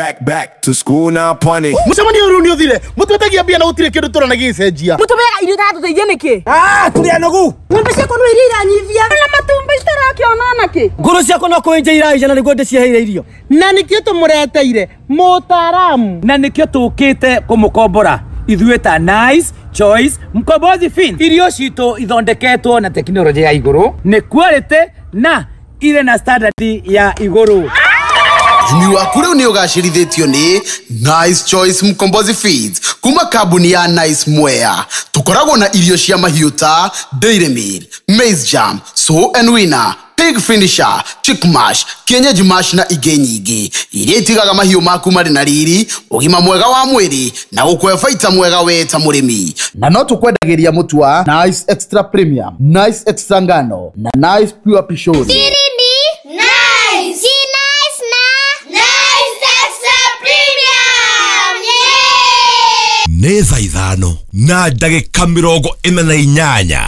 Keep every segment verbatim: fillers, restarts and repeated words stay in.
Back back to school now punish. Mucemanio riu ni uthire mutwetagia mbia na gutire kindu turona gicenjia mutubeaga irio iratũteithia nĩkĩ? Ah, tũrĩ anogu. Ng'ombe ciakwa no iria iranyivia na matumbi citarakĩona nakĩ. Ngũrũ ciakwa no kũenja iraija na nĩguo ndĩciheire irio. Na nĩkĩo tũmũreteire mũtaaramu. Na nĩkĩo tũkĩte kũmũkombora ithuĩ ta Nice Choice Mkombozi Fin. Irio citũ ithondeketwo na tekinoronjĩ ya igũrũ, nĩ quality na irĩ na standard ya igũrũ. Ũrĩmi waku rĩu nĩ ũgacĩrithĩtio nĩ Nice Choice Mkombozi Feeds kuma kambuni ya Nice Mwea. Tũkoragwo na irio cia mahiũ ta Dairy Meal, Maize Jam, Sow and Winner, Pig Finisher, Chick Mash, Kienyeji Mash na ingĩ nyingĩ iria itigaga mahiũ maku marĩ na riri, ũgima mwega wa mwĩrĩ na gũkũhe baita mwega we ta mũrĩmi. Na no tũkwendagĩria mũtu wa Nice Extra Premium, Nice Extra Ngano na Nice Pure Pishori. Nĩ thaa ithano na ndagĩka mĩrongo ĩna na inyanya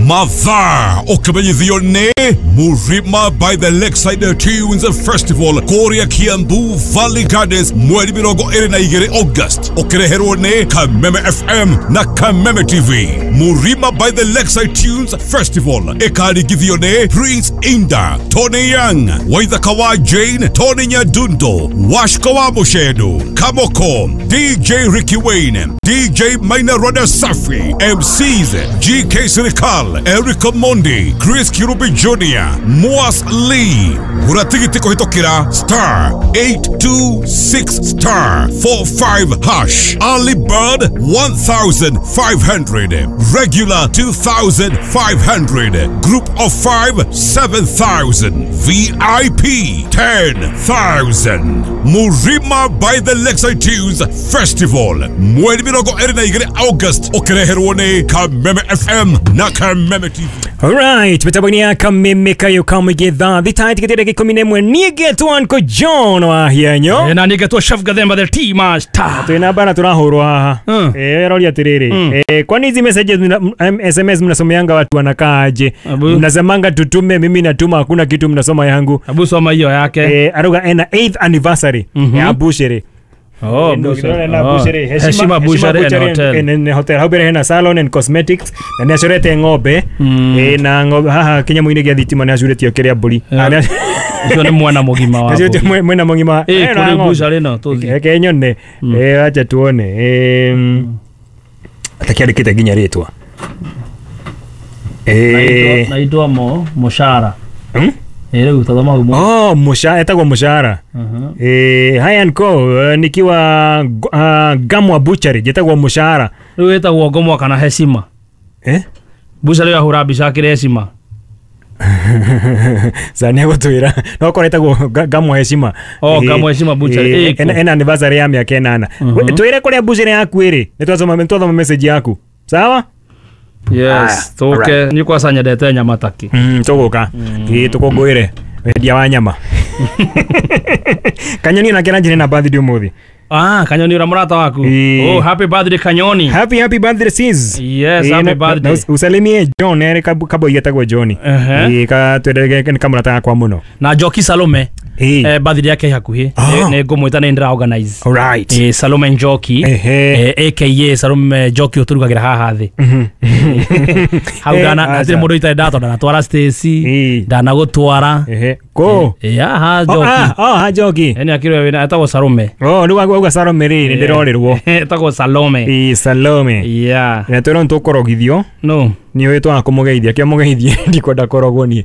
mathaa ũkĩmenyithio nĩ Murima by the Lakeside Tunes Festival kũrĩa Kiambu Valley Gardens mweri mĩrongo ĩrĩ na igĩrĩ August, ũkĩreherwo nĩ Kameme F M na Kameme T V. Murima by the Lakeside Tunes Festival ĩkaringithio nĩ Prince Inda, Tony Young, Waithaka wa Jane, Tony Nyadundo, Washko wa Mushedu, Kamoko, D J Ricky Wayne, D J Maina Rada Safi, M Cs G K Sirikal, Eric Mondi, Chris Kirubi Junior, Moas Lee. Gura tigiti kũhĩtũkĩra star eight two six star four five hash. Early bird one thousand five hundred, regular two thousand five hundred, group of five seven thousand, V I P ten thousand. Murima by the Lakeside Tunes Festival mweri mĩrongo ĩrĩ na igĩrĩ August, ũkĩreherwo nĩ Kameme F M na Kameme T V. Alright, mitambo ya Kameme kayo kamigedha thita tikitire ikumi na ĩmwe nigetwo Uncle John wa hianyo na nigetwo Chef Gathemba the Tea Master. Twina bana turahurwa haha. Eh, rori atiriri. Eh, kwani hizi messages S M S mnasomeanga watu wanakaaje? Mnasemanga tutume, mimi natuma, hakuna kitu mnasoma yangu. Abu soma hiyo yake. Eh, aruga ena eighth anniversary ya Bushiri. Oh, Bushiri. Heshima Bushiri and Hotel. And hotel. Hau mbere hena salon and cosmetics na nĩ acorete ng'ombe. Eh, na ng'ombe haha kinyamu-inĩ gĩa thitima nĩ acuretio kĩrĩa mbũri. Ucio nĩ mwana mũgima wa. Acuretio mwena mũgima. Eh, kũrĩ Bushiri no tũthiĩ. Reke nyone. Eh, acha tuone. Eh, atakĩandĩkĩte nginya rĩtwa. Eh, naitwa mo Mushara. Hmm? Eh, rĩu tathoma gumo. Oh, Mushara, etagwo Mushara. Eh, hi uncle, nikiwa uh, Gamwa Butchery, jetagwo Mushara. Rĩu etagwo Gamwa kana Heshima. Eh? Bushari yahura mbica akĩrĩ Heshima. Sani agũtwĩra no korwo etagwo Gamwa Heshima. Oh, Gamwa Heshima Butchery. Eh, ena anniversary ya mĩaka ĩnana. Twĩre kũrĩa butchery yaku ĩrĩ. Nĩ twathoma nĩ twathoma message yaku. Sawa? Yes, tũke nĩ kwaca nyendete nyama taki. Mm, tũgũka. Ĩ tũkũngũĩre wendia wa nyama. Kanyoni nake aranjĩra na birthday ũmũthĩ. Ah, Kanyoni ura murata waku. Oh, happy birthday Kanyoni. Happy happy birthday sis. Yes, e, happy na, birthday. Na, usalimie John ere kabo yetagwo John. Eh, ka twendege ni kamurata gakwa muno. Na Njoki Salome. Eh, eh birthday yake hakuhi. Ne ngũmwĩta nĩ ndĩra organize. All right. Eh, Salome Njoki. Eh, A K A Salome Njoki ũtũrugagĩra haha thĩ. Hau ndana hatirĩ mũndũ itarĩ ndatwara, ndanatwara Stacy, ndanagũtwara. Ehe. Ko? Eh, ha Njoki. Ah, oh, ha Njoki. Ene akĩrwo wĩna etagwo Salome. Oh, rĩu auga Salome rĩ, nĩ ndĩrorĩrwo. Etagwo Salome. Ĩ Salome. Yeah. Na twĩrwo nĩtũkũrogithio. No. Nĩ ũĩ twaga kũmũgeithia, kĩo mũgeithie ndikwenda kũrogwo niĩ.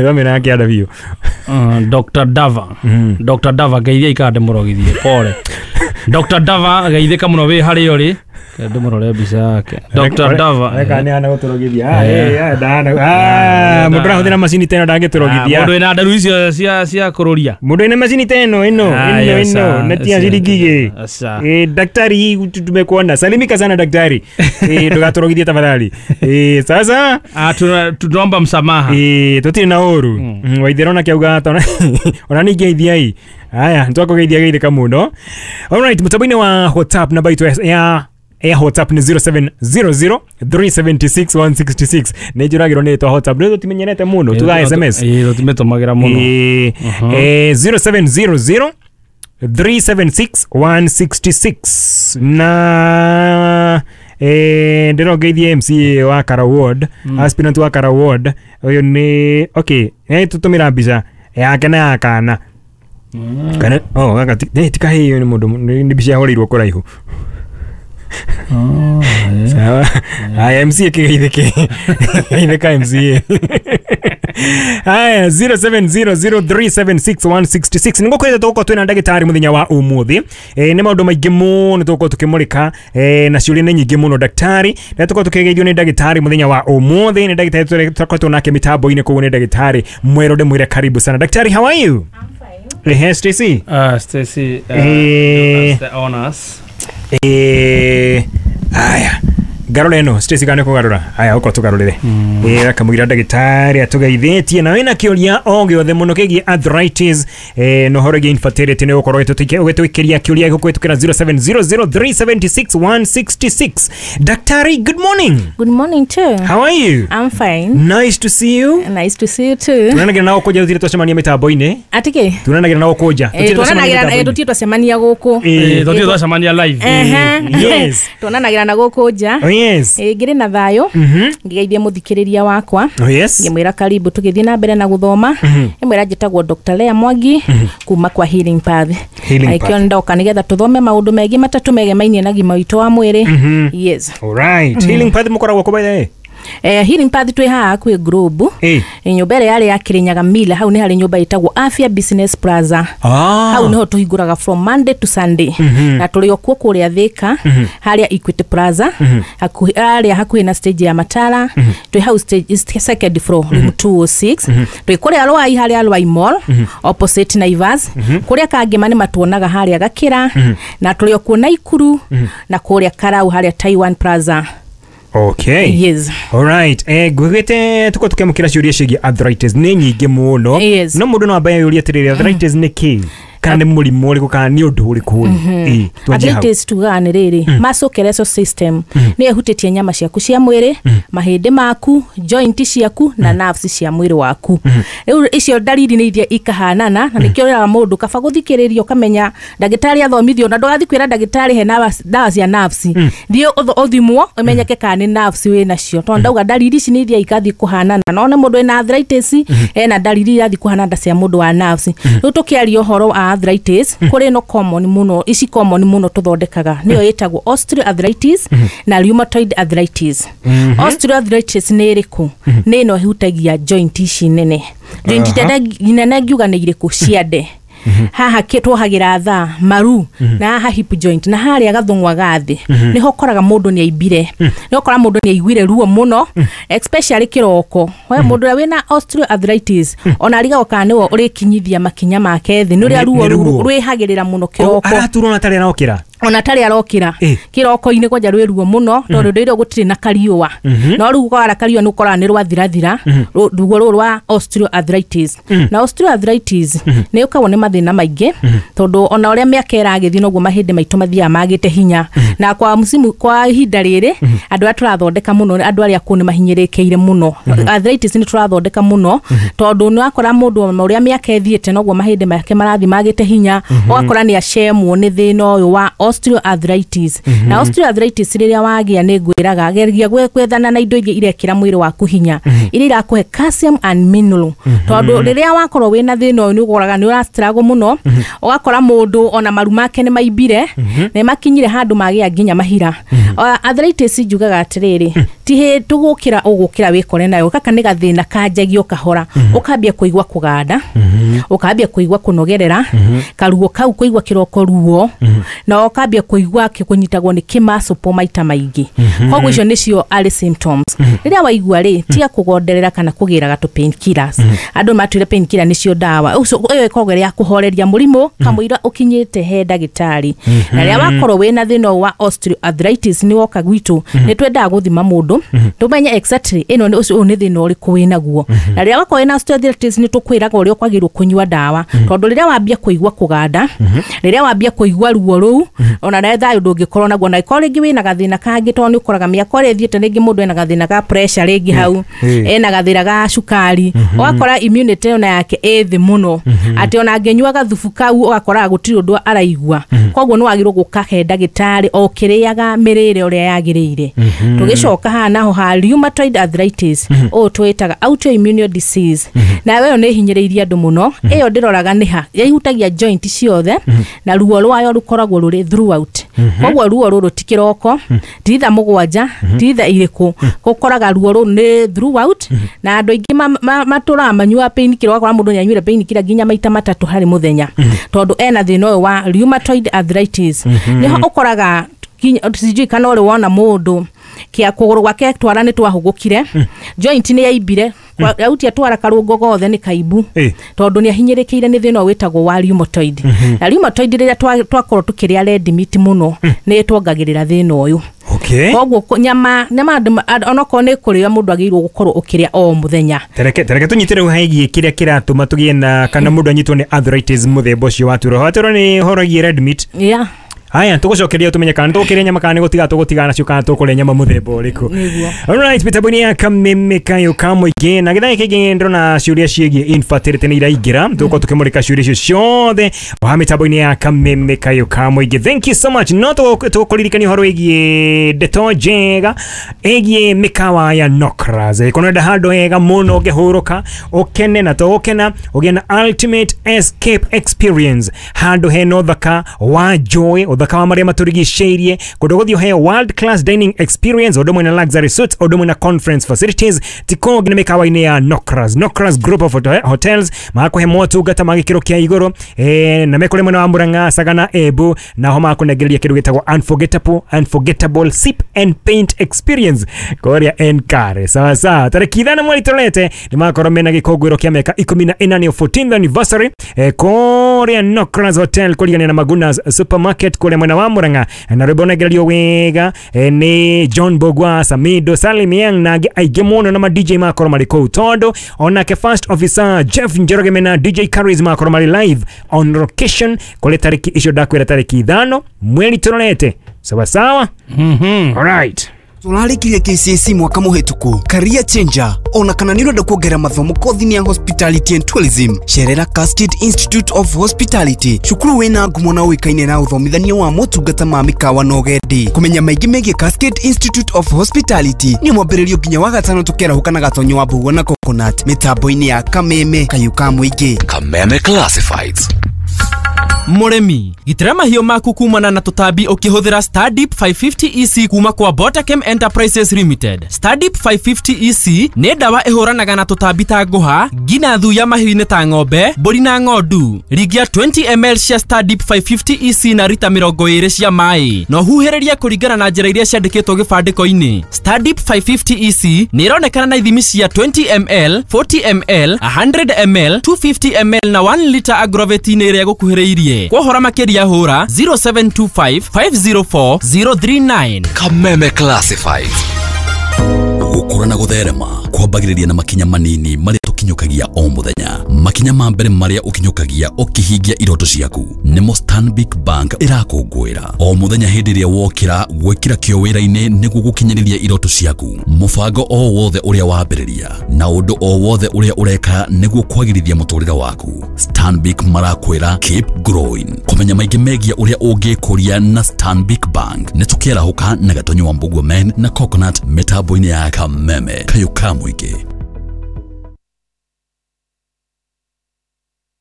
Thomera yake ada biũ. Doctor Dava. Doctor Dava geithia ikara ndĩmũrogithie, pole. Doctor Dava geithĩka mũno wĩ harĩa ũrĩ. Ndĩmũrore mbica yake. Doctor Dava. Reka nĩ hana gũtũrogithia. Ah, eh, ndahana. Ah, mũndũ arahũthĩra macini ta ĩno ndangĩtũrogithia. Mũndũ wĩna nderu icio cia cia kũrũria. Mũndũ wĩna macini ta ĩno ĩno ĩno ĩno na ti ya ciringi igĩrĩ. Eh, daktari tumekuona. Salimika sana daktari. Eh, ndũgatũrogithie tafadhali. Eh, sasa ah, tunaomba msamaha. Eh, tũtirĩ na ũru. Waithera ona kĩauga ona ningĩgeithia i. Haya, nĩtwakũgeithia geithĩka mũno. All right, mũtambo-inĩ wa WhatsApp namba itũ ya ya WhatsApp nĩ zero seven zero zero three seven six one six six. Nĩ njũragĩrwo nĩ twa WhatsApp nĩ tũtimenyerete mũno tuga S M S. Ĩĩ tũtimetũmagĩra mũno. Ĩĩ zero seven zero zero three seven six one six six na eh ndĩrongeithie M C A wa Kara Ward, mm. aspirant wa Kara Ward ũyũ nĩ okay nĩ tũtũmĩra mbica yake na ya kana. Mm. Kana oh gaka ti tikaheyo nĩ mũndũ nĩ mbica yahũrĩirwo kũraihu. Oh, yeah. Sawa. Aya M C A kĩgeithĩke. Geithĩka M C A. Aya zero seven zero zero three seven six one six six. Nĩngũkwĩra tũgũkorwo twĩna ndagĩtarĩ mũthenya wa ũmũthĩ. Eh nĩ maũndũ maingĩ mũno tũgũkorwo tũkĩmũrĩka eh na ciũria nĩ nyingĩ mũno daktari. Na tũgũkorwo tũkĩgeithio nĩ ndagĩtarĩ mũthenya wa ũmũthĩ. Nĩ ndagĩtarĩ tũkoretwo nake mĩtambo-inĩ koguo nĩ ndagĩtarĩ Mwerũ ndĩmwĩre karibu sana. Daktari, how are you? I'm fine. Eh Stacy. Uh Stacy, uh, eh, the honors. Eh aya garore no Stacy kana kugarura aya uko tugarurire mm. eh akamwira ndagitari atugeithitie na wina kiuria o giothe muno kigie arthritis eh no horo infertility ni ukorwo ugituikiria kiuria gukwitukira zero seven zero zero three seven six one six six. Daktari, good morning. Good morning too. How are you? I'm fine. Nice to see you. Nice to see you too. Tunanagira nao kuja uthire twacemania mitambo-ini. Atike? Tunanagira nao kuja. Tunanagira eh tutie twacemania guku. Eh tutie twacemania live. Yes. Tunanagira na guku nja. Oh, yes. Eh ngire na thayo. Ngigeithie muthikiriria wakwa. Oh, yes. Ngimwira karibu tugithie na mbere na guthoma. Ngimwira njitagwo Doctor Lea Mwangi kuma kwa Healing Path. Aikio ndoka nigetha tuthome maundu megi matatu megemainie na gima witu wa mwiri. Yes. All right. Healing Path mukoragwo ku by the way? Eh Healing Path twi haha kwi Globe. Eh. Nyumba ĩrĩa yarĩ ya Kirinyaga Mila hau nĩ harĩ nyumba ĩtagwo Afya Business Plaza. Ah. Hau niho tũhingũraga from Monday to Sunday. Mm -hmm. Na tũrĩ o kuo kũrĩa Thika mm -hmm. harĩa Equity Plaza mm -hmm. hakuhĩ harĩa hakuhĩ na stage ya Matara mm -hmm. twĩ hau stage second floor room mm -hmm. two oh six mm -hmm. twĩ kũrĩa Rwai harĩa Rwai Mall mm -hmm. opposite Naivas mm -hmm. kũrĩa Kangema nĩ matuonaga harĩa Gakĩra mm -hmm. na tũrĩ o kuo Naikuru mm -hmm. na kũrĩa Karau harĩa Taiwan Plaza. Okay. Yes. All right. Eh gwigite tuko tukemukira ciuria cigie arthritis ni nyingi muno. Yes. No mundu no ambaye yuria atiriri arthritis ni ki? Kana ni murimu uriku kana ni undu uriku? Eh. Arthritis tugaga ni riri musculoskeletal system ni ehutitie nyama ciaku cia mwiri, mahindi maku, joint ciaku na nerves cia mwiri waku. Riu icio ndariri ni iria ikahanana na nikio riraga mundu kaba guthikiriria ukamenya ndagitari athomithio na ndugathi kwira ndagitari he ndawa cia nerves. Thie uthimwo umenyeke kana ni nerves wi nacio tondu ndauga ndariri ici ni iria ikathi kuhanana no ne mundu ena arthritis ena ndariri irathi kuhanana cia mundu wa nerves. Riu tukiaria uhoro wa arthritis kuri no common muno ici common muno tuthondekaga niyo itagwo osteoarthritis na rheumatoid arthritis. Osteoarthritis ni iriku? Ni no ihutagia joint ici nene. Joint nene ngiuga ni iriku? Ciande haha twohagira thaa maru na haha hip joint na haria gathungwa gathi niho koraga mundu ni aimbire niho kora mundu ni aiguire ruo muno especially kiroko we mundu uria wina osteoarthritis ona arigagwo kana niwe urikinyithia makinya make thi ni uria ruo rwihagirira muno kiroko araturwo na tari arokira ona tari arokira kiroko-ini kwanja rwi ruo muno tondu ndire gutire na kariua no riu kwara kariua ni ukora ni rwathirathira ruo ruru rwa osteoarthritis na osteoarthritis ni ukagwo ni mathina maingi tondu ona uria miaka iragithi noguo mahindi maitu mathiaga magite hinya na kwa musimu kwa ihinda riri andu aria turathondeka muno andu aria kuu ni mahinyirikeire muno arthritis ni turathondeka muno tondu ni wakora mundu uria miaka ithiite noguo mahindi make marathi magite hinya ugakora ni acemwo ni thina uyu wa osteoarthritis na osteoarthritis riria wagia ni ngwiraga geria gwethana na indo iria irekira mwiri waku hinya iria irakuhe calcium and mineral tondu riria wakorwo wina thina uyu ni ugoraga ni urastruggle muno ugakora mundu ona maru make ni maimbire ni makinyire handu magia nginya mahira. Arthritis njugaga atiriri ti he tugukira ugukira wikore nayo kaka ni gathina kanjagio kahora ukambia kuigua kuganda ukambia kuigua kunogerera karuo kau kuigua kiroko ruo na ukambia kuigua kunyitagwo ni kimasupo maita maingi koguo icio nicio early symptoms. Riria waigua ri tiga kugonderera kana kugiraga tu painkillers andu matwire painkiller nicio ndawa ucio iyo ikoragwo ya kuhoreria murimu kamwira ukinyite he ndagitari. Na riria wakorwo wina thina wa osteoarthritis ni woka gwitu ni twendaga guthima mundu tumenye exactly ino ni ucio ni thina uriku winaguo. Na riria wakorwo wina osteoarthritis ni tukwiraga uria kwagirwo kunyua ndawa tondu riria wambia kuigua kuganda riria wambia kuigua ruo ruu Ona nawe thayũ ndũngĩkorwo naguo, na ĩkorwo rĩngĩ wĩna gathĩna kangĩ, tondũ nĩ ũkoraga mĩaka ũrĩa ĩthiĩte rĩngĩ mũndũ ena gathĩna ga pressure rĩngĩ hau, ena gathĩna ga cukari, ũgakora immunity ona yake ĩ thĩ mũno, atĩ ona angĩnyua gathubu kau ũgakoraga gũtirĩ ũndũ araigua. Koguo nĩ wagĩrĩirwo gũka he ndagĩtarĩ o kĩrĩaga mĩrĩre ũrĩa yagĩrĩire. Tũgĩcoka haha naho ha rheumatoid arthritis, ũũ twĩtaga autoimmune disease, nayo ĩyo nĩ ĩhinyĩrĩirie andũ mũno. Ĩyo ndĩroraga nĩ ha yahutagia joint ciothe, na ruo rwayo rũkoragwo rũrĩ throughout. Koguo ruo rũrũ ti kĩroko, ti thaa mũgwanja, ti thaa irĩkũ, gũkoraga ruo rũrũ nĩ throughout. Na andũ aingĩ matũraga manyuaga painkiller, ũgakora mũndũ nĩanyuire painkiller nginya maita matatũ harĩ mũthenya, tondũ ena thĩna ũyũ wa rheumatoid arthritis. Nĩho ũkoraga sijui kana ũrĩ wona mũndũ kia kũgũrũ gwake twara nĩ twahũgũkire, joint nĩ yaimbire, yautia twara karũngo gothe nĩ kaimbu, tondũ nĩ ahinyĩrĩkĩire nĩ thĩna ũyũ wĩtagwo wa rheumatoid. Na rheumatoid rĩrĩa twakorwo tũkĩrĩa red meat mũno, nĩ ĩtuongagĩrĩra thĩna ũyũ. Okay. Koguo nyama nyama onokorwo nĩ kũrĩa mũndũ agĩrĩirwo gũkorwo ũkĩrĩa o mũthenya. Tereke tereke tũnyite rĩu hegie kĩrĩa kĩratũma tũgĩe na kana mũndũ anyitwo nĩ arthritis mũthemba ũcio wa turo. Hatũro nĩ ũhoro wĩgiĩ red meat. Yeah. Haya, tugucokeria tumenye kana tukiria nyama kana gutiga tugutigana nacio kana tukuria nyama muthemba uriku. Alright, mitambo-inĩ ya Kameme Kayo ka mũingĩ na gĩthaa gĩkĩ kĩngĩ ndĩrona ciũria ciĩgiĩ infertility nĩ iraingĩra, tũgũkorwo tũkĩmũrĩka ciũria icio ciothe wa mitambo-inĩ ya Kameme Kayo ka mũingĩ. Thank you so much. No tũkũririkania ũhoro wĩgiĩ ndeto njega ĩgiĩ mĩkawa ya Nokras. Ĩkũnenda handũ hega mũno ũngĩhurũka ũkene na to gũkena ũgĩe na ultimate escape experience, handũ hena ũthaka wa joy, ũthaka wa marĩa matũrigicĩirie, kũndũ gũthiĩ ũheo world class dining experience, ũndũ ũmwe na luxury suites, ũndũ ũmwe na conference facilities. Ti kũngĩ nĩ mĩkawa-inĩ ya Nokras. Nokras Group of Hotels magakũhe motungata ma gĩkĩro kĩa igũrũ, eh, na mekũrĩ mwena wa Murang'a, Sagana, Embu, naho magakũnengereria kĩndũ gĩtagwo unforgettable unforgettable sip and paint experience kũrĩa Enkare. Sawa sawa, tarĩki ithano mweri tũrete nĩ magakorwo mena gĩkũngũĩro kĩa mĩaka ikũmi na ĩna, nĩyo fourteenth anniversary, eh, kũrĩa Nokras Hotel kũrigania na Magunas Supermarket kũrĩa mwena wa Murang'a, na rwĩmbo nengererio wega eh, nĩ John Bogwa, Samido, Salim Yang na angĩ aingĩ mũno, na ma D J makorwo marĩ kũu, tondũ onake first officer Jeff Njoroge mena D J Caris makorwo marĩ live on location kũrĩ tarĩki icio ndakwĩra, tarĩki ithano mweri tũrorete. Sawa sawa. Mhm. Alright. Tũrarĩkirie K C S E mwaka mũhĩtũku, career changer, ona kana nĩ ũrenda kuongerera mathomo kothi-inĩ ya hospitality and tourism, cerera Cascade Institute of Hospitality, cukuru wĩna ngumo na ũĩkaine na ũthomithania wa motungata ma mĩkawa na ũgendi. Kũmenya maingĩ megiĩ Cascade Institute of Hospitality nĩ mwambĩrĩrio nginya wa gatano tũkĩarahũka na Gatonyo wa Mbũgua na Coconut mĩtambo-inĩ ya Kameme Kayũ ka Mũingĩ. Kameme Classifieds. Mũrĩmi, gitĩra mahiũ maku kumana na tũtambi ũkĩhũthĩra Stardip five fifty E C kuma kwa Botachem Enterprises Limited. Stardip five fifty E C nĩ ndawa ĩhũranaga na tũtambi ta ngũha, nginya thuya mahiũ-inĩ ta ng'ombe, mbũri na ng'ondu. Ringia twenty milliliters cia Stardip five fifty E C na rita mĩrongo ĩrĩ cia maĩ. Na ũhuhĩrĩrie kũringana na njĩra iria ciandĩkĩtwo gĩbandĩko-inĩ. Stardip five fifty E C nĩ ĩronekana na ithimi cia twenty milliliters, forty milliliters, a hundred milliliters, two fifty milliliters na one liter agroveti-inĩ ĩrĩa ĩgũkuhĩrĩirie. Kwa makĩria hũra zero seven two five, five zero four, zero three nine. Kameme Classifieds. Gũkũra na gũtherema kwambagĩrĩria na makinya manini marĩa tũkinyũkagia o mũthenya. Makinya ma mbere marĩa ũkinyũkagia ũkĩhingia iroto ciaku nĩmo Stanbic Bank ĩrakũngũĩra o mũthenya. Hĩndĩ ĩrĩa wokĩra gwĩkĩra kĩo wĩra-inĩ nĩguo gũkinyĩrĩria iroto ciaku, mũbango o wothe ũrĩa wambĩrĩria na ũndũ o wothe ũrĩa ũreka nĩguo kwagĩrithia mũtũrĩre waku, Stanbic marakwĩra keep growing. Kũmenya maingĩ megiĩ ũrĩa ũngĩkũria na Stanbic Bank nĩ tũkĩarahũka na Gatonyo wa Mbũgua Men na Coconut mĩtambo-inĩ ya Kameme Kayũ ka Mũingĩ.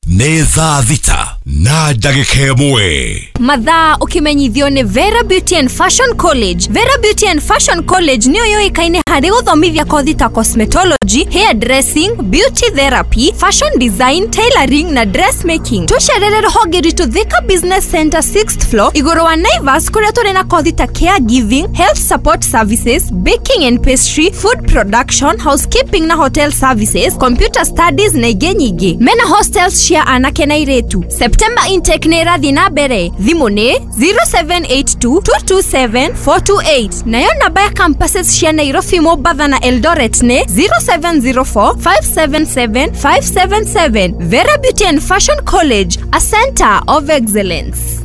Nĩ thaa thita na ndagĩka ĩmwe. Mathaa ũkĩmenyithio nĩ Vera Beauty and Fashion College. Vera Beauty and Fashion College nĩyo yũĩkaine harĩ gũthomithia kothi ta cosmetology, hair dressing, beauty therapy, fashion design, tailoring na dressmaking. Tũcerere rũhonge rwitũ Thika Business Center sixth floor igũrũ wa Naivas, kũrĩa tũrĩ na kothi ta caregiving, health support services, baking and pastry, food production, housekeeping na hotel services, computer studies na ingĩ nyingĩ. Mena hostels cia anake na airĩtu. September intake nĩ ĩrathiĩ na mbere. Thimũ nĩ zero seven eight two, two two seven, four two eight. Nayo namba ya campuses cia Nairobi, Mombasa na Eldoret nĩ zero seven zero four, five seven seven, five seven seven. Vera Beauty and Fashion College, a center of excellence.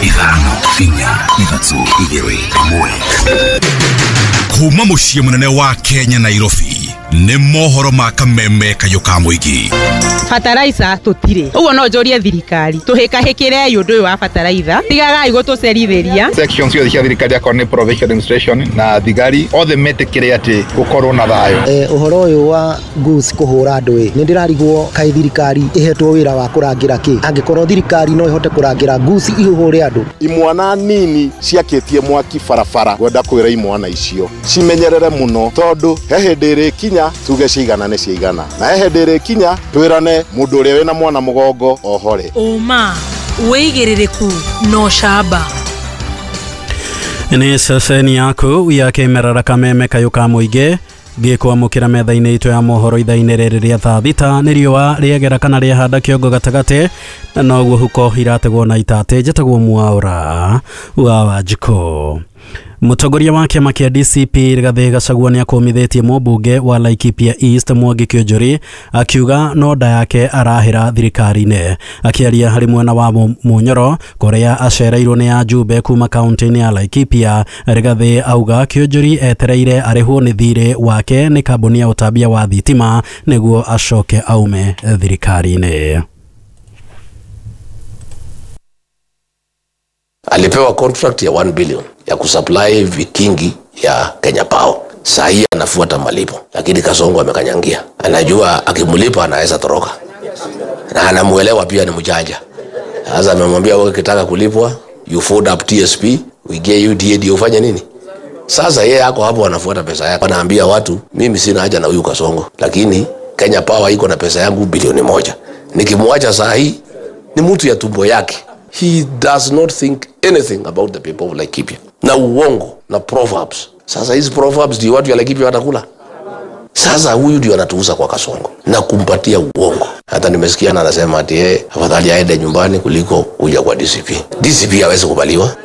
Ithano inya ithatu igĩrĩ ĩmwe. Kuma mũciĩ mũnene wa Kenya Nairobi nĩ mohoro ma kameme kayũ ka mũingĩ. Bataraitha tũtirĩ, ũguo no njũrie thirikari tũhĩkahĩkĩrei ũndũ ũyũ wa bataraitha, tigagai gũtũcerithĩria. Section ciothe cia thirikari akorwo nĩ provincial administration na thigari othe metĩkĩre atĩ gũkorwo na thayũ. Eh, ũhoro ũyũ wa goose kũhũra andũ ĩ, nĩ ndĩrarigwo kaĩ thirikari ĩhetwo wĩra wa kũrangĩra kĩ, angĩkorwo thirikari no ĩhote kũrangĩra goose ihũhũre andũ. Imwana nini ciakĩtie mwaki barabara, ngwenda kwĩra imwana icio cimenyerere mũno tondũ he hĩndĩ ĩrĩkinya tuge cigana nĩ cigana, na he hĩndĩ ĩrĩkinya twĩrane mũndũ ũrĩa wĩna mwana mũgongo ohore. Ũma wĩigĩrĩrĩku no camba. Nĩ ceceni yaku ya kĩmerera kameme kayũ ka mũingĩ gĩkwamũkĩra metha-inĩ itũ ya mohoro ithaa-inĩ rĩrĩ rĩa thaa thita. Nĩ riũa rĩegera kana rĩahanda kĩongo gatagatĩ na noguo huko irategwo na itatĩ. Njĩtagwo Mwaũra wa Wanjikũ. Mũtongoria wa kĩama kĩa D C P Rigathĩ Gachagua nĩakũmithĩtie mũmbunge wa Laikipia East Mwangi Kĩonjũri akiuga no nda yake arahĩra thirikari-inĩ. Akĩaria harĩ mwena wa Munyoro kũrĩa acereirwo nĩ ajumbe kuma kaunti-inĩ ya Laikipia, Rigathĩ auga Kĩonjũri etereire arĩhwo nĩ thirĩ wake nĩ kambuni ya ũtambia wa thitima nĩguo acoke aume thirikari-inĩ. Alipewa contract ya one billion ya kusupply vikingi ya Kenya Power. Saa hii anafuata malipo, lakini Kasongo amekanyangia. Anajua akimlipa anaweza toroka. Na anamuelewa pia ni mjanja. Sasa amemwambia wewe ukitaka kulipwa, you fold up T S P, we get you D A D ufanye nini? Sasa yeye yako hapo anafuata pesa yake. Anaambia watu mimi sina haja na huyu Kasongo, lakini Kenya Power iko na pesa yangu bilioni moja. Nikimwacha saa hii ni mtu ya tumbo yake. He does not think anything about the people of Laikipia. Na uongo, na proverbs. Sasa hizi proverbs ndio watu ya Laikipia watakula. Sasa huyu ndio anatuuza kwa Kasongo na kumpatia uongo. Hata nimesikia na anasema ati yeye afadhali aende nyumbani kuliko kuja kwa D C P. D C P hawezi kubaliwa.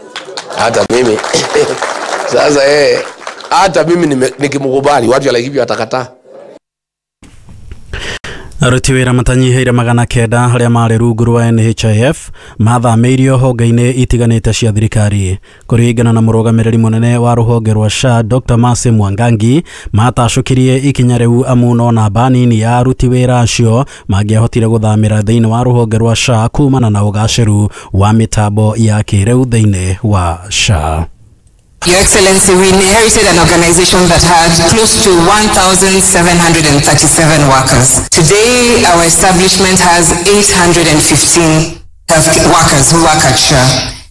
Hata mimi sasa yeye hata mimi nikimkubali watu ya Laikipia watakataa. Aruti wĩra matanyihĩire magana kenda arĩa marĩ rungu rwa N H I F mathamĩirio honge-inĩ itiganĩte cia thirikari. Kũringana na mũrũgamĩrĩri mũnene wa rũhonge rwa S H A Doctor Mercy Mwangangi, matacũkirie ikinya rĩu amu no namba nini ya aruti wĩra acio mangĩahotire gũthamĩra thĩinĩ wa rũhonge rwa S H A kumana na ũgacĩru wa mĩtambo ya kĩrĩu thĩinĩ wa S H A. Your Excellency, we inherited an organization that had close to one thousand seven hundred thirty-seven workers. Today, our establishment has eight hundred fifteen health workers who work at S H A.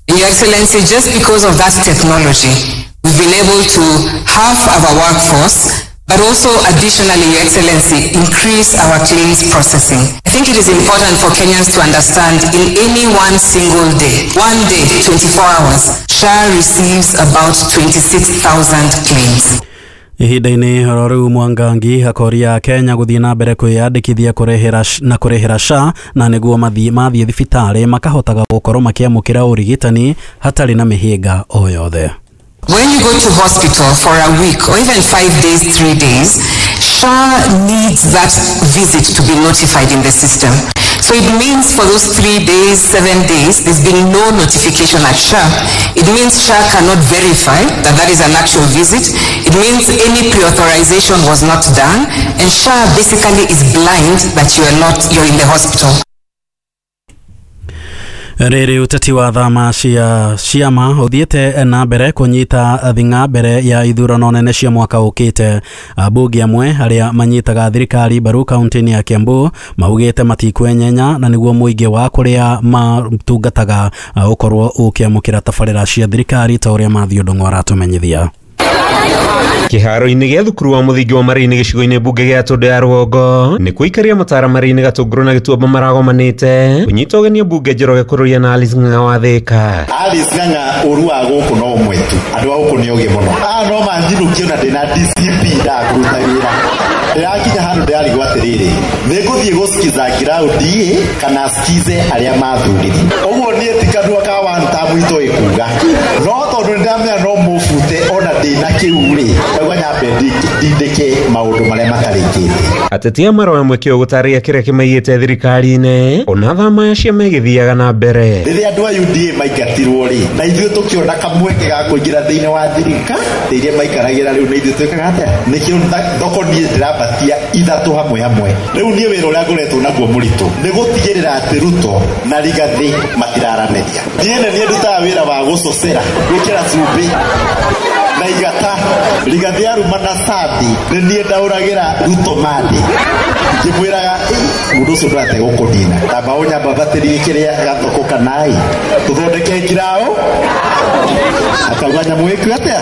And Your Excellency, just because of that technology, we've been able to half our workforce, but also additionally, Your Excellency, increase our claims processing. I think it is important for Kenyans to understand in any one single day, one day, twenty-four hours, S H A receives about twenty-six thousand claims. Ihinda-inĩ oro rĩu Mwangangi akoria Kenya gũthiĩ na mbere kwĩyandĩkithia kũrĩhĩra na kũrĩhĩra S H A na nĩguo mathiĩ mathiĩ thibitarĩ makahotaga gũkorwo makĩamũkĩra ũrigitani hatarĩ na mĩhĩnga o yothe. When you go to hospital for a week or even five days, three days, S H A needs that visit to be notified in the system. So it means for those three days, seven days, there's been no notification at S H A. It means S H A cannot verify that that is an actual visit. It means any pre-authorization was not done, and S H A basically is blind that you are not, you're in the hospital. Rĩrĩ ũteti wa thama cia ciama ũthiĩte na mbere kũnyita thing'a mbere ya ithurano nene cia mwaka ũkĩte. Ambunge amwe arĩa manyitaga thirikari mbaru kaunti-inĩ ya Kiambu maugĩte matikwenyenya na nĩguo mũingĩ wa kũrĩa matungataga ũkorwo ũkĩamũkĩra tabarĩra cia thirikari ta ũrĩa Matthew Ndung'u aratũmenyithia. Kĩharo-inĩ gĩa thukuru wa mũthingi wa Marini gĩcigo-inĩ mbunge gĩa Tũndũ ya Rũgongo nĩ kuikaria matara Marini Gatũngũrũ na Gĩtuamba maragomanĩte kũnyita ũgeni mbunge Njoroge Kũrũria na Alice Ng'ang'a wa Thĩka. Alice Ng'ang'a ũru wa gũkũ no ũmwe tu, andũ a gũkũ nĩ ogĩ mũno. Aya no manjinũkie ona ndĩna D C P ndakũruta wĩra. Ndĩrakinya handũ ndĩrarigwo atĩrĩrĩ, nĩngũthiĩ gũsikiza ground kana sikize arĩa mathurire. Ũguo niĩ ti kanua ka one term itoĩ kuga, no tondũ nĩndamenya no mũbute ona ndĩna kĩu rĩ ndauga nyambe ndindĩke maũndũ marĩa matarĩkĩte. Ateti a maroya mweke ũgũtarĩria kĩrĩa kĩmaigĩte thirikari-inĩ ona thama cia megĩthiaga na mbere. Rĩrĩa andũ a U D A maingatirwo rĩ, na ithuĩ tũkĩona kamweke ga kũingĩra thĩinĩ wa thirikari iria maikaragĩra rĩu nĩ ithuĩ twĩkaga atĩa? Nĩkĩo thoko niĩ ndĩrambatia ithatũ hamwe hamwe. Rĩu niĩ wĩra ũrĩa ngoretwo naguo mũritũ nĩ gũtigĩrĩra atĩ Ruto na Rigathĩ matiraranĩria. Niĩ nĩ niĩ ndutaga wĩra wa gũcocera, gwĩkĩra cumbĩ na igata. Rigathĩ aruma na Sandi nĩ niĩ ndaũragĩra Ruto mandi ngĩmwĩraga mũndũ ũcio ndũrate gũkũnina, tamba ũnyambabatĩrie kĩrĩa gathoko kanai tũthondeke ngirao akauga nyamũ ĩku atĩa.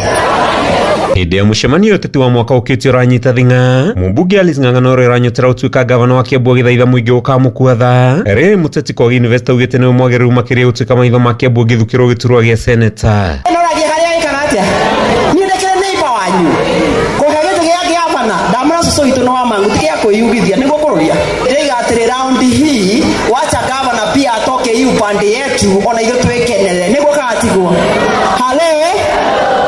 Hĩndĩ ya mũcemanio ũteti wa mwaka ũkĩte ũranyita thing'a, mũmbunge Alice Ng'ang'a na ũrĩa ũranyotera ũtuĩka gavana wa Kiambu agĩthaitha mũingĩ ũkamũkua tha. Rĩrĩ mũteti Kogi University augĩte nĩwe mwagĩrĩru makĩria gũtuĩka maitho ma Kiambu agĩthukĩrwo gĩturwa gĩa seneta. Ũragia harĩa ĩkaga atĩa? Niĩ ndĩkĩrĩ neighbor wanyu kũhe gĩtĩ gĩa gavana ndamũra cũcũ witũ nĩ wa mangu ti gĩa kwĩyugithia nĩguo kũrũria. Ndĩraiga atĩrĩ raundi hii wacha gavana pia atoke hii upande yetu ona ithuĩ twĩkenere nĩguo katigwo. Hale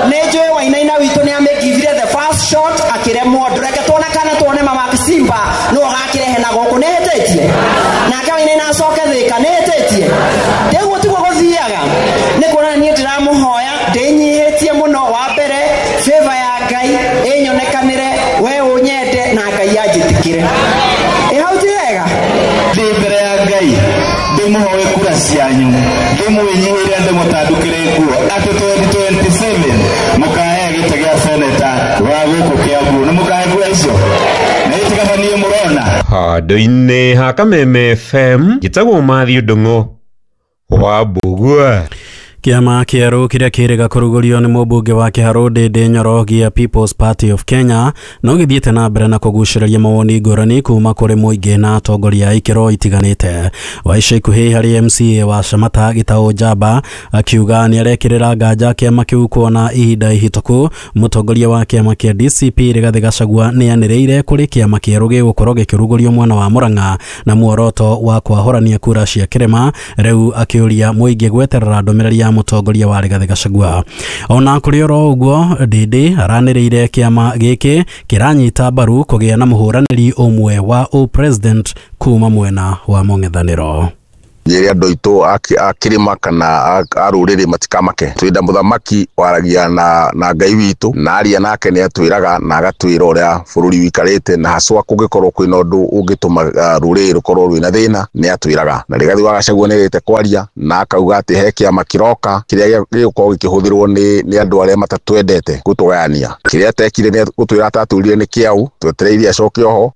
nĩnjũĩ Wainaina witũ nĩ amĩgivire the first shot akĩremwo ndũreke tuone kana tuone mama Simba nĩwe ũgakĩrehe na gũkũ nĩhĩtĩtie nake Wainaina acoke Thĩka nĩhĩtĩtie ndĩguo tiguo gũthiaga nĩ kuona niĩ ndĩramũhoya ndĩnyihĩtie mũno wa mbere favor ya Ngai ĩnyonekanĩre we ũnyende na Ngai anjĩtĩkĩre. Ĩ hau ti wega? Ndĩ mbere ya Ngai ndĩmũhoe kura cianyu ndĩmwĩnyihĩre ndĩmũtandũkĩre nguo atĩ twenty twenty-seven mũkahe gĩtĩ gĩa seneta wa gũkũ Kiambu nĩ mũkahe kura icio na itigabanie mũrona. Handũ-inĩ ha Kameme F M njĩtagwo Matthew Ndung'u wa Mbugua. Kĩama kĩerũ kĩrĩa kĩrĩga kũrugũrio nĩ mũmbunge wa Kĩharũ Ndĩndĩ Nyoro gĩa People's Party of Kenya no gĩthiĩte na mbere na kũgucĩrĩria mawoni ngũrani kuma kũrĩ mũingĩ na atongoria a ikĩro itiganĩte. Wa ica ikuhĩ harĩ M C A wa Shamata Gĩtaũ Njamba akiuga nĩarekĩrĩra nganja kĩama kĩu kuona ihinda ihĩtũku mũtongoria wa kĩama kĩa D C P Rigathĩ Gachagua nĩanĩrĩire kũrĩ kĩama kĩerũ gĩgũkorwo gĩkĩrugũrio mwena wa Murang'a na muoroto wa kwahũrania kura cia kĩrĩma rĩu akĩũria mũingĩ gweterera ndũmĩrĩri ya mũtongoria wa Rigathĩ Gachagua. Ona kũrĩ oro ũguo Ndĩndĩ aranĩrĩire kĩama gĩkĩ kĩranyita mbaru kũgĩa na mũhũranĩri ũmwe wa o-president kuma mwena wa mũng'ethanĩro. Njĩre andũ aitũ a kĩrĩma kana a rũrĩrĩ matikamake twĩnda mũthamaki waragia na na Ngai witũ na aria nake nĩ atwĩraga na agatwĩra ũrĩa bũrũri wĩikarĩte na haswa kũngĩkorwo kwĩna ũndũ ũngĩtũma rũrĩrĩ rũkorwo rwĩna thĩna nĩ atwĩraga. Na Rigathĩ wa Gachagua nĩ agĩte kwaria na akauga atĩ he kĩama kĩroka kĩrĩa gĩgũkorwo gĩkĩhũthĩrwo nĩ nĩ andũ arĩa matatwendete gũtũgayania. Kĩrĩa atekire nĩ gũtwĩra atatwĩrire nĩ kĩau twetereire acoke oho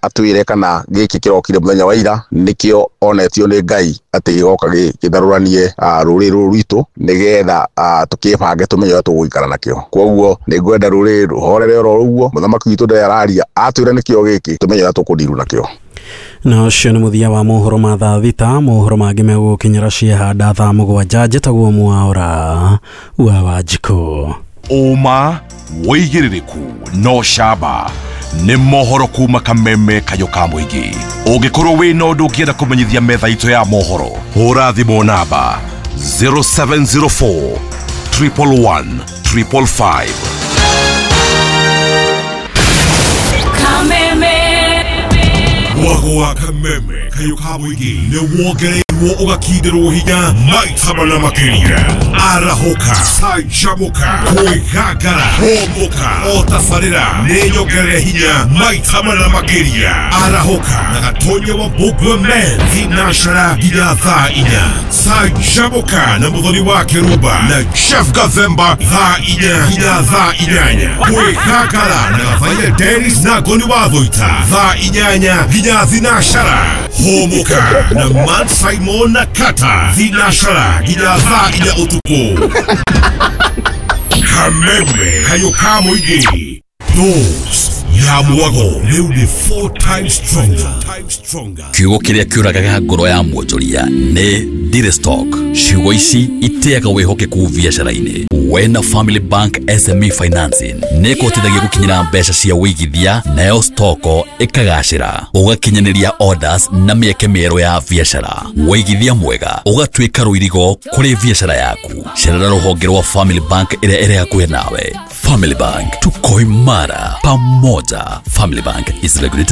atwĩre kana gĩkĩ kĩrokire mũthenya wa ira nĩkĩo onetio nĩ Ngai atĩ gĩgoka gĩtharũranie rũrĩrĩ rũrũ rwitũ nĩgetha tũkĩbange tũmenye ũrĩa tũgũikara nakĩo. Koguo nĩ ngwenda rũrĩrĩ rũhorere oro ũguo mũthamaki witũ ndarĩ araria atwĩra nĩkĩo gĩkĩ tũmenye ũrĩa tũkũndiru nakĩo. Na ũcio nĩ mũthia wa mohoro ma thaa thita. Mohoro mangĩ megũgũkinyĩra ciehanda thaa mũgwanja. Njĩtagwo Mwaũra wa Wanjikũ. Ũma wĩigĩrĩrĩku no camba nĩ mohoro kuma Kameme kayũ ka mũingĩ. Ũngĩkorwo wĩna ũndũ ũngĩenda kũmenyithia metha itũ ya mohoro, hũra thimũ namba zero seven zero four triple one triple five. Kameme Mwago wa Kameme kayũ ka mũingĩ nĩ wongereirwo ũgakinderwo hinya maita mana makĩria. Arahũka, canjamũka, kwĩgangara, hũmũka, o tabarĩra nĩ nyongerere hinya maita mana makĩria. Arahũka na Gatonya wa Mbugua Men thinashara nginya thaa inya. Canjamũka na Mũthoni wa Kĩrumba na Jeff Gathemba thaa inya nginya thaa inyanya. Kwĩgangara na Gathaia Dennis na Ngoni wa Thũita thaa inyanya nginya thinashara. Hũmũka na Man Simon na Kata thinashara nginya thaa inya ũtukũ. Kameme kayũ ka mũingĩ. Dose Ya mwago rĩu nĩ four times stronger. Kiugo kĩrĩa kĩũragaga ngoro ya mwonjoria nĩ ndirĩ stock. Ciugo ici iteaga wĩhokeku biacara-inĩ. Wena Family Bank S M E Financing nĩ ĩkũhotithagia gũkinyĩra mbeca cia wĩigithia, nayo stoko ĩkagacĩra, ũgakinyanĩria orders na mĩeke mĩerũ ya biacara. Wĩigithia mwega ũgatuĩka rũirigo kũrĩ biacara yaku. Cerera rũhonge rwa Family Bank ĩrĩa ĩrĩ hakuhĩ nawe. Family Bank, tuko imara pamoja. Family Bank is regulated